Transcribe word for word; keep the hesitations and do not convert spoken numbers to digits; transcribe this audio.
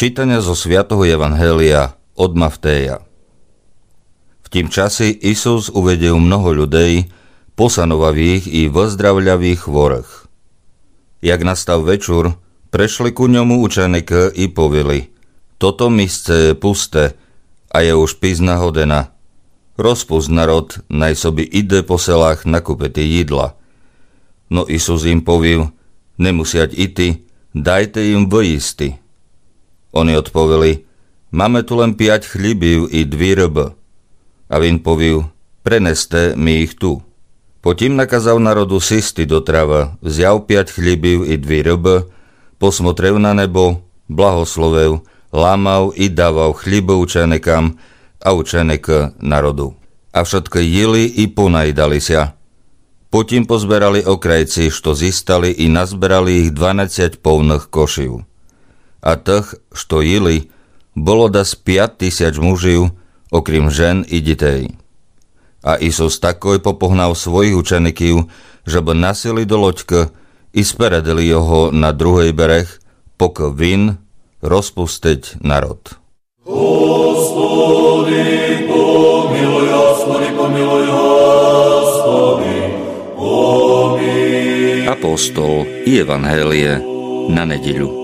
Читаня зо Святого Євангелія од Мавтея. В тім часі Ісус увидів много людей, посановав їх і выздравляв їх хворых. Як настав вечур, пришли ку ньому ученикы і повіли: Тото місце є пусте, а є уж пізна година. Розпуст народ, най собі іде по селах накупити їдла. Но Ісус їм повів: Не мусять іти, дайте їм выїсти. Они одповіли: Маме ту лем пять хлібів і дві рыбы. А він повів: Принесте ми їх ту. Потім наказав народу сісти до травы, взяв пять хлібів і дві рыбы, посмотрив на небо, благословив, ламав і давав хлібы ученикам, а ученикы народу. А вшыткы їли і понаїдали ся. Потім позберали окрайці, што зістали, і назберали їх дванадцять повных кошів. А тых, што їли, было дас пять тисяч мужів, окрім жен і дітей. А Ісус такой попогнав своїх учеників, жебы насіли до лодькы і спередили його на другый берег, покы він розпустить народ. Господи, помилуй, Господи, помилуй, Господи, помилуй. Апостол і Євангеліє на неділю.